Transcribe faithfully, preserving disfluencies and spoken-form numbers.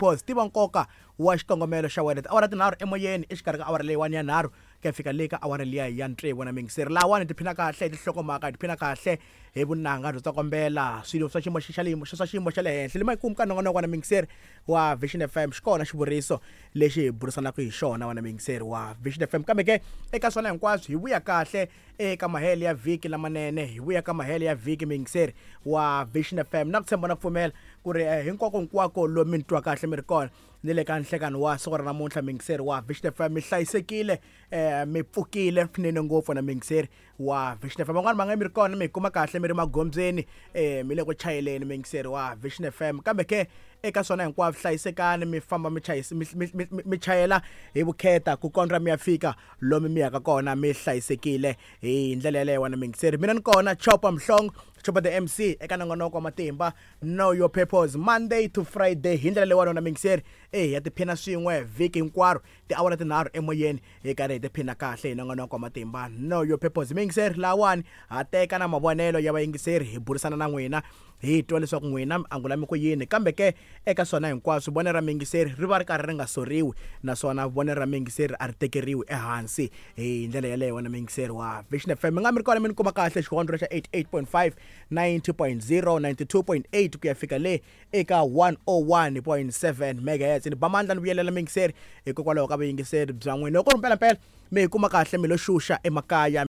Purpose, tiva nkoka wa xikongomelo xa wena. Tiawara tinharhu emoyeni exikarhi ka awara leyiwani ya nharhu ku ya fika le ka awara liya ya tsevu na mingiseri. Lahawani hi tiphina kahle hi tinhlokomhaka, hi tiphina kahle hi vunanga byo tsokombela, swilo swa xiyimo xa le swa xiyimo xa le henhla. Le makumu ka nongonoko na mingiseri wa Vision F M xi kona xivuriso lexi hi burisanaka hi xona wena mingiseri wa Vision F M. Kambe ke eka swona hinkwaswo hi vuya kahle eka mahelo ya vhiki lamanene, hi vuya ka mahelo ya vhiki mingiseri wa Vision F M. Na ku tshemba na ku pfumela ku ri, eh, hinkwako hinkwako lomu mi ni twa kahle mi ri kona ni le ka nhlekani wa siku ra namuntlha mingiseri wa Vision F M, mi hlayisekile, eh, mi pfukile swinene ngopfu na mingiseri wa Vision F M. Van'wani va nga mi ri kona mi kuma kahle mi ri magondzweni, eh, mi le ku chayeleni mingiseri wa Vision F M. Kambe ke eka swona hinkwaswo hlayisekani, mi famba mi chayisa, mi, mi, mi, mi, mi chayela hi vukheta ku kondza mi ya fika lomu mi yaka kona mi hlayisekile hi ndlela yeleyo wena mingiseri. Mina ni kona Chopa Mhlongo, Chopa the M C eka nongonoko wa matimba Know Your Purpose, Monday to Friday hi ndlela leyiwani wena mingiseri. Eh, ya tiphina swin'we vhiki hinkwaro, tiawara tinharhu emoyeni hi karhi hi tiphina kahle hi nongonoko wa matimba Know Your Purpose. Mingiseri lawani ha teka na mavonelo ya vayingiseri, hi burisana na n'wina hi twa leswaku n'wina mi angula mi ku yini. Kambe ke eka swona hinkwaswo vonelo ra mingiseri ri va ri karhi ri nga soriwi, naswona vonelo ra mingiseri a ri tekeriwi ehansi hi ndlela yeleyo wena mingiseri wa Vision F M. Mi nga mi ri kona mi ni kuma kahle xihondlo xa eighty-eight point five, ninety point zero, ninety-two point eight ku ya fika le eka one oh one point seven megahertz. Ni ba mandla ni vuyelela mingiseri hikokwalaho ka vuyingiseri bya n'wina. Loko ri mpelampela mi hi kuma kahle mi lo xuxa emakaya.